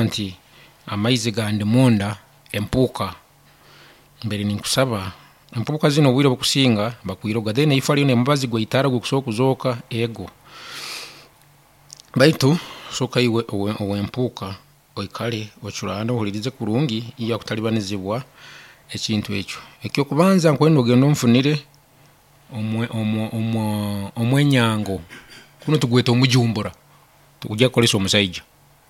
Nti amaizi gandi munda empuuka mbaire ninkusaba empuuka zinu obwire obukusinga bakwiroga, then ifo hariyo omubazi gweitara ogukusobora kuzooka ego. Baitu sooka iwe owempuuka oikare ochurane ohulirize kurungi, iwe kutalibanizibwa ekintu ekyo. Ekyokubanza nkwenda ogende onfunire omwenyango, gunu tugweta omujumbura, tukujya kukozesa omusaija,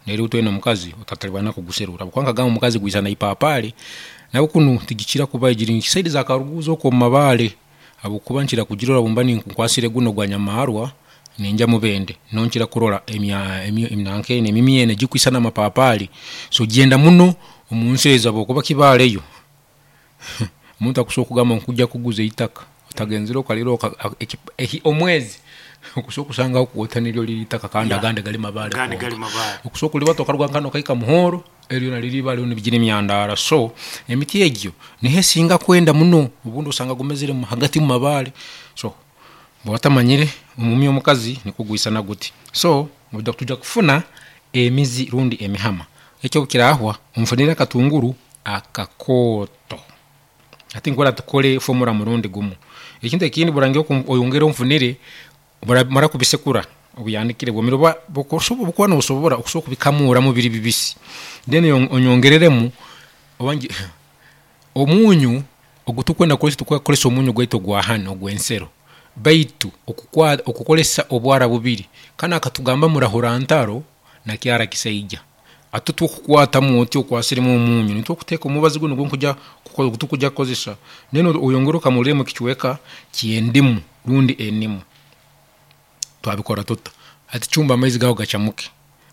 itwena omukazi otatalibana kuguserura habwokuba nkagamba omukazi gwisana ipapali, nawe kunu tigukira kubayo, giri side za karuguzi okwo mumabare habwokuba nkira kugirora bwemba nkwasire gunu ogwanyamarwa nengya mubende, niho nkira kurora emimya enu ekwisana amapapali. So gyenda muno omunsi ezo habwokuba kibaale yo, omuntu akusobora kugamba nkujja kuguza eitaka otagenzere okarirora omwezi okusobora kusangaho niryo liri eitaka kandi agandi gali mabaare Agandi gonka. gali mabaare. Okusobora kulibata okaruga nkanu okahika muhoro, eryo lyona liri ibare nibigire emyandara. So emiti egyo niho esinga kwenda muno, obundi osanga gumezere hagati mumabare. So bwoba otamanyire, omumya omukazi nikwo gwisana guti. So twijja kufuna emizi rundi emihama, ekyo bwekirahwa, onfunire akatunguru akakooto. Hati nkwenda tukore formula murundi gumu. Ekintu ekindi oyongere onfunire, mara kubisekura obyanikire bwomere oba bwokuba nosobora, osobola kubikamuramu biri bibisi then onyongereremu omunyu ogwotukwenda kukozesa, titukwenda kukozesa omunyu gwaitu ogwahanu ogwensero baitu okukozesa obwara bubiri, kanu akatugamba murahura ntaro nakyara kisaija. Hati tokukwatamu oti okwasiremu omunyu, nikwo okuteka omubazi gunu gwetukujja kukozesa then oyongere okamulemu ekichweka kyendimu rundi enimu. Twabikora tuta, hati chumba amaizi gaawe gachamuke,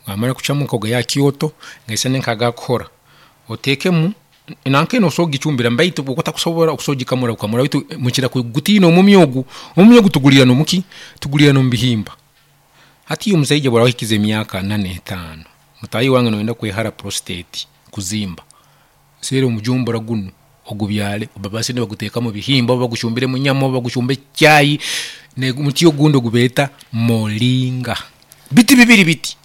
gamara kuchamuka ogaihe hakyoto gaisane nka'gakuhora, otekemu nankinu osobola kugichumbiramu baitu bwokuba otakusobora osobola kugikamura bukamura baitu mukira kugutiina omumya ogu. Omumya ogu tugulya nomuki, tugulya nomubihimba. Hati iwe omusaija bworaba ohikize emyaka ana ne'taano, mutahi wange noyenda kwehara prostate kuzimba, sera omujumbura gunu ogubyare, babase nebaguteka mubihimba, orba baguchumbire munyama, orba baguchumbe muchai, nomuti ogundi gwebeeta moringa. Biti bibiri biti,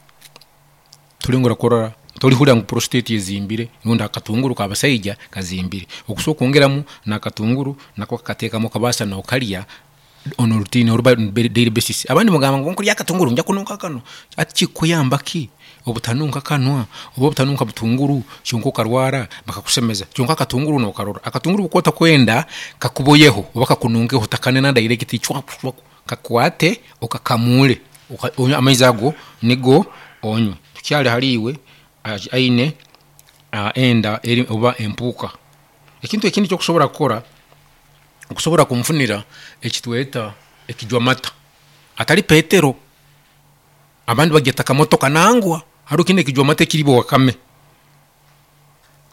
tolengaho kurora, tolihuura ngu prostate ezimbire rundi akatunguru kabasaija kazimbire. Okusobora kwongeramu nakatunguru nako okakatekamu okabasa no'kalya on a routine orba daily basis. Abandi mugamba ngu bwenkurya akatunguru nija kununka akanwa, hati chikuyamba ki obutanunka akanwa orba obutanunka butunguru kyonka okarwara bakakusemeza kyonka akatunguru no'karora. Akatunguru bwokuba otakwenda kakuboyeho orba kakununkeho, otakanena direct, kakwate okakamule amaizi ago nigo onywe. Tukyali hali iwe aine enda orba empuuka. Ekintu ekindi kyokusobora kukora, okusobora kunfunira ekitweta ekijwamata hatali petero, abandi bagyeta kamotoka nangwa, haroho kinu ekijwamata ekiribwa wakame,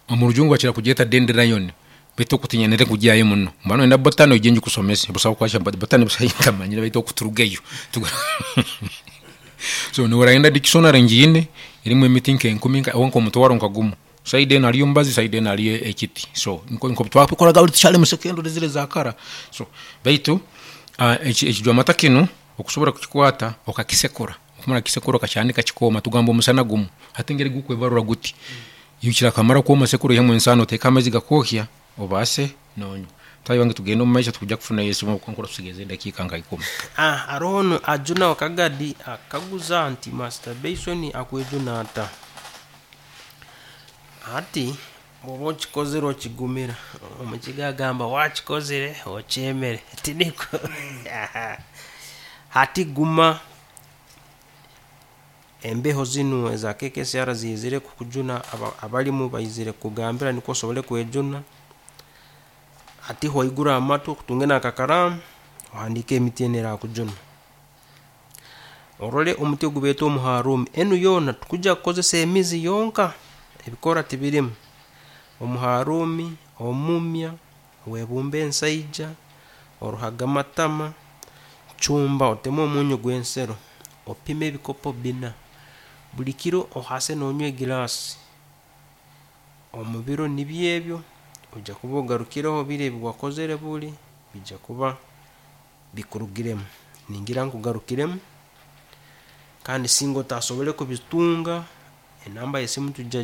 omurujungu bakira kugyeta dandelion baitu okwo tinyendere kugyayo muno, bwokuba noyenda botany oije ngikusomese, busaho botany ntamanyire baitu okwo turugeyo. So norayenda dictionary ngiine erimu emiti nkenkumi orba nkomutwaro nka gumu, side enu hariyo omubazi, side enu hariyo ekiti, so nikwo twabikoraga tukyali mu secondary ziri ezakara. So baitu ekijwamata kinu okusobora kukikwata okakisekura, bwokumara kukisekura okakyanika kikooma, tugamba omusana gumu, hati engeri gukwebarura guti, kyakamara kwoma osekure oihemu ensano oteke amaizi gakwokya obase nonywa. Mutahi wange tugende omumaiso tukujja kufunayo esimu habwokuba nkurora tusigaizeyo edakiika nka ikumi. Haroho onu Ajuna Wakagadi akaguza nti masturbation akwejuna ata? Hati bwoba okikozire okigumira, omukiga agamba wakikozire okyemere, tinikwo? Hati guma, embeho zinu eza KKCR ziizire kukujuna, abarimu baizire kukugambira nikwo osobole kwejuna. Hati waigura amatu otunge n'akakaraamu ohandiike emiti enu erakujuna. Orole omuti ogubeeta omuharumi, enu yoona titukujya kukozesa emizi yonka, ebikoora tibirimu. Omuharumi, omumya, webumbe ensaija, oruhagamatama, chumba otemu omunyu gwensero, opime ebikopo bina, buli kiro ohase nonywa eglass, omubiro nibyo ebyo, ojja kuba ogarukireho biri ebiwakozere buli, bijja kuba bikurugiremu. Ningira nkugarukiremu kandi singa otasobole kubitunga, enamba yesimu tujja.